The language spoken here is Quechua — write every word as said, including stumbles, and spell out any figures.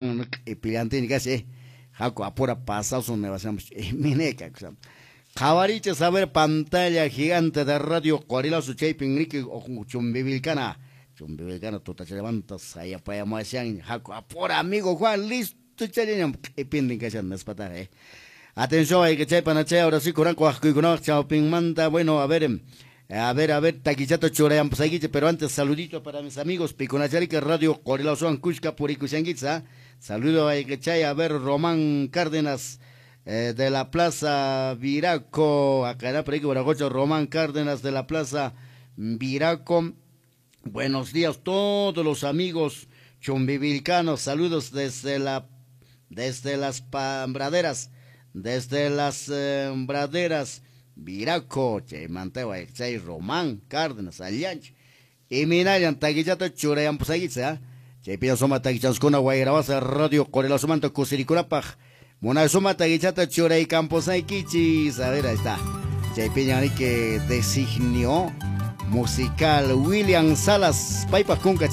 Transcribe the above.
Q'ipillantini kashan, haku apura pasasun niwashanpas imineka. Qhawarichis, a ver, pantalla gigante de Radio Qorilasu, chaypin riki Chumbivilcana Chumbivilcana tutachallamanta sayapayamuwashan. Haku apura, amigo Juan, listo challañam q'ipintin kashan nispataqa, eh. Atención, hay que chay panachay, ahora sí kuranku waqkuykunawaq chawpinmanta. Bueno, a ver, a ver, a ver, takichata churayanpusaykichis, pero antes saludito para mis amigos pikunacharika Radio Qorilasuwan kushka purikushankichis, ¿ah? Saludo hay que chay, a ver, Román Cárdenas eh, de la Plaza Viraco, acá era por ahí, Román Cárdenas de la Plaza Viraco. Buenos días todos los amigos chumbivilcanos, saludos desde la desde las braderas, desde las eh, braderas Viraco, chaymanta chay Román Cárdenas, allanch. Y minayan takichata churayanpusaykichis, ¿ah? Chaypiña suma takichaskuna wayrawasa Radio Qorilásumanta kusirikunapaq. Munay suma takichata churaykampusaykichis. A ver, ahí está. Chaypiña que designio musical William Salas, paypaq kunka.